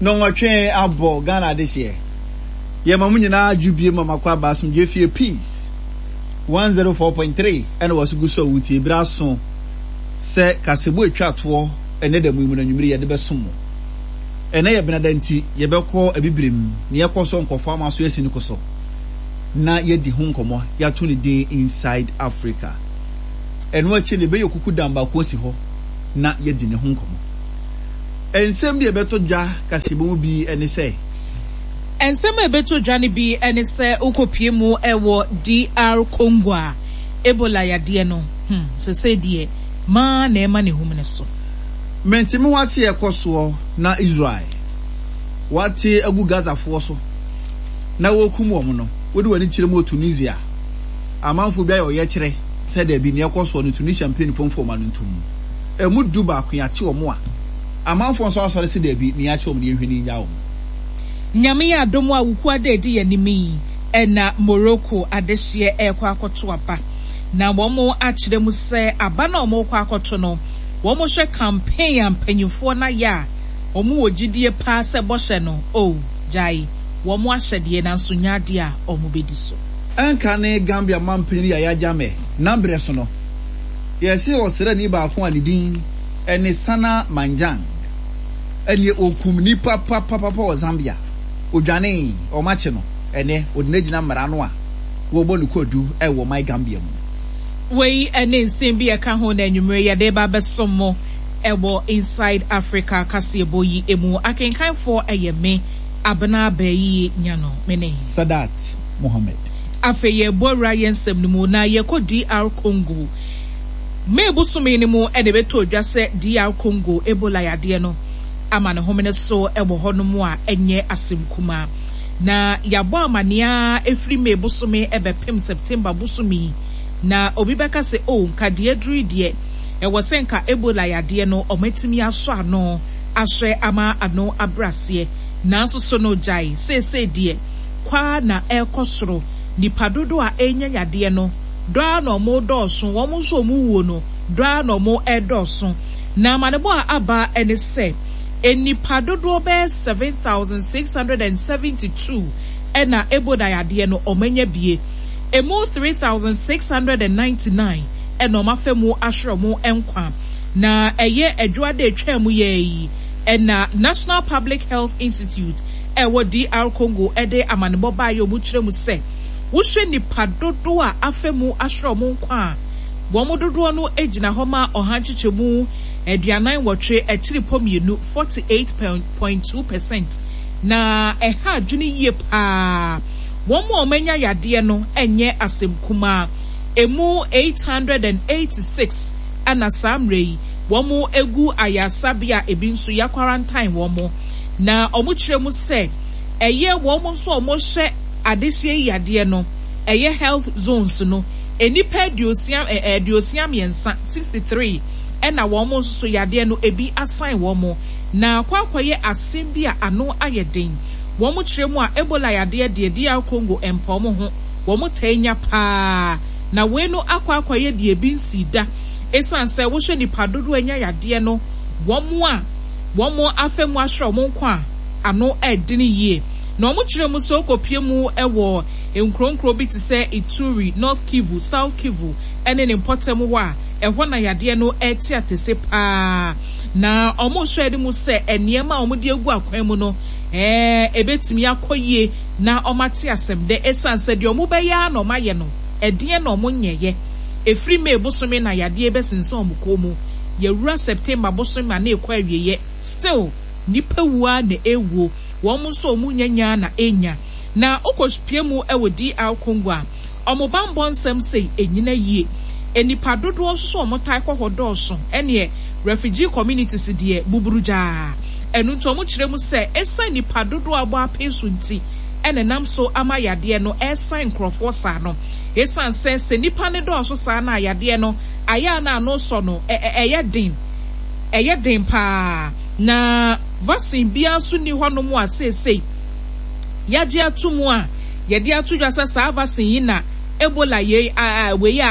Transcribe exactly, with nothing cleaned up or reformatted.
Nnɔnwɔtwe abɔ Ghana adehyeɛ. Yɛma mo nyinaa adwo bie ma makɔ aba asomdwe fie Peace one zero four point three ɛna wɔso gu so a wotie bere aso sɛ kasebo atwa toɔ ɛnɛ da mu yi mu na nwumere yɛde bɛsom mo. Ɛnɛ yɛ benada nti yɛbɛkɔ abibirem na yɛkɔ so nkɔfo ama so asi ne ko so na yɛdi ho nkɔmmɔ yɛato ne din Inside Africa. Ɛno akyi no yɛbɛyɛ kuku dam baako asi hɔ na yɛdi ne ho nkɔmmɔ. Nsɛm bi a ɛbɛtɔ dwa kasebo mu bi ne sɛ Nsɛm a ɛbɛtɔ dwa no bi ne sɛ wokɔpie mu wɔ D R Congo a Ebola yadeɛ no, hmm, sɛsɛ deɛ maa na ɛma ne hum ne so. Mentimi wate ɛkɔ soɔ na Israel wate agu Gazafoɔ so na wɔkum wɔn no, wode w'ani kyerɛ mu wɔ Tunisia, amanfoɔ bi ayɛ ɔyɛ kyerɛ sɛ daabi, nea ɛkɔ soɔ no Tunisia mpanyinfoɔ mfa wɔn ano ntom mu. Ɛmu du baako yɛate wɔn a amanfoɔ nso asɔre sɛ daabi, nea yɛakyɛ wɔn no yɛnhwɛ ne yɛngya wɔn. Nyame yɛ adom a Wukuada edi yɛn anim yi ɛna Morocco adehyeɛ ɛrekɔ akɔto aba, na wɔn akyerɛ mu sɛ aba na wɔn rekɔ akɔto no, wɔn hwɛ campaign a mpanyinfoɔ no ayɛ a, wɔn wɔ gyidie paa sɛ bɔhyɛ no o gyae wɔn ahyɛdeɛ, nanso nya adeɛ a wɔn bɛdi so. Ɛnka ne Gambia mampanyin Yaya Jammeh n'abrɛ so no, yɛse ɔsraani baako a ne din ɛne Sana Manjang ɛne okum nipa papapapa wɔ Zambia. Odwane, ɔmakye no, ɛnɛ ɔde no agyina mmara no a wɔbɔ ne kwadu ɛwɔ man Gambia mu. Wei ne nsɛm bi ɛka ho na anwummerɛ yɛde ba bɛsom mo ɛwɔ Inside Africa kaseɛbɔ yi emu. Akenkanfoɔ ɛyɛ me, Abena Bɛyie Nyano, me ne Sadat Mohammed. Afei yɛbɔ awura yɛn nsɛm no mu na yɛkɔ D R Congo. May bosome no mu ɛna ɛbɛtɔ dwa sɛ D R Congo Ebola yadeɛ no ama ne homene so ɛwɔ hɔnom a ɛnyɛ asɛm kumaa, na yɛabɔ amanneɛ ɛfiri May bosome ɛbɛpem September bosome yi, na obi bɛka sɛ o nka deɛ duru deɛ ɛwɔ sɛ nka Ebola yadeɛ no ɔmatumi asɔ ano ahwɛ ama ano abrɛ, nanso so no gyae seesei deɛ kwaa na ɛrekɔ soro. Nipa dodoɔ a ɛrenya yadeɛ no dɔa na ɔmo dɔɔso, wɔn nso ɔmo wuo no dɔa na ɔmo ɛdɔɔso. Na amanebɔ a aba ɛne sɛ nipa dodoɔ bɛyɛ seven thousand six hundred and seventy two ɛna Ebola yadeɛ no ɔmo anya bie. Emu three thousand six hundred and ninety nine ɛna ɔmo afɛ mu ahwere ɔmo nkwa. Na ɛyɛ adwuada etwa mu yɛ yi ɛna National Public Health Institute ɛwɔ D R Congo ɛde amanebɔ baayɛ. Ɔmo kyerɛ mu sɛ wohwɛ nipa dodoɔ a afɛ mu ahwere ɔmo nkwa a, wɔn dodoɔ no gyina hɔ ma ɔha nkyekyɛmu aduanan wɔtwe akyiri pɔ mmienu, forty eight point two percent, na ɛha adwene yie paa. Wɔn a wɔanya yadeɛ no nyɛ asɛm kumaa. Emu eight hundred and eighty six ɛna saa mmerɛ yi wɔn egu ayaresabea, ebi nso yɛ quarantine wɔn. Na wɔn kyerɛ mu sɛ ɛyɛ wɔn nso a wɔhyɛ adehyɛ yi yadeɛ no ɛyɛ health zones no, nnipa aduosia ɛ aduosia mmiɛnsa, sixty three, ɛna wɔn nso so yadeɛ no ebi asan wɔn. Na akɔ akɔyɛ asɛm bi a ano ayɛ den. Wɔn kyerɛ mu a, Ebola yadeɛ deɛ, D R Congo mpa wɔn ho, wɔn taa nya paa, na wei no akɔ akɔyɛ deɛ ebi nsi da, esan sɛ wohwɛ nipa dodoɔ anya yadeɛ no, wɔn a wɔn afɛ mu ahwɛ wɔn nkwa a ano ɛdene yie. Na wɔn kyerɛ mu sɛ okopie mu ɛwɔ nkuronkuro bi te sɛ Ituri, North Kivu, South Kivu ɛne ne mpɔtam hɔ a, ɛhɔ na yadeɛ no ɛte atese paa. Na wɔn hwɛ anim sɛ nneɛma a wɔde agu akwan mu no ɛɛ ebetumi akɔ yie na wɔn ate asɛm dɛ, esan sɛ deɛ wɔn bɛyɛ a na wɔn ayɛ no ɛdeɛ na wɔn nyɛyɛ. Efiri May bosome na yadeɛ bɛsensɛn wɔn kɔn mu, yɛwura September bosome a na ekɔ awieɛ, still nipa wua na ewuo, wɔn nso wɔn nyanya na enya. Na okɔpie mu ɛwɔ D R Congo a, wɔn bambɔ nsɛm sei enyina yie. Nipa dodoɔ nso so wɔn tae kɔ hɔ dɔɔso, ɛneɛ refugee communities deɛ buburu gyaa. Ɛno nti wɔn kyerɛ mu sɛ esan nipa dodoɔ abɔ apee so nti ɛna nam so ama yadeɛ no ɛsan nkorɔfoɔ saa no, esan sɛ sɛ nipa ne dɔɔso saa na yadeɛ no ayɛ a na ano sɔ no ɛ ɛyɛ den, ɛyɛ den paa. Na vaccine biara nso ni hɔnom a seesei yagye ato mu a yɛde ato dwa sɛ saa vaccine yi na Ebola yei a wei a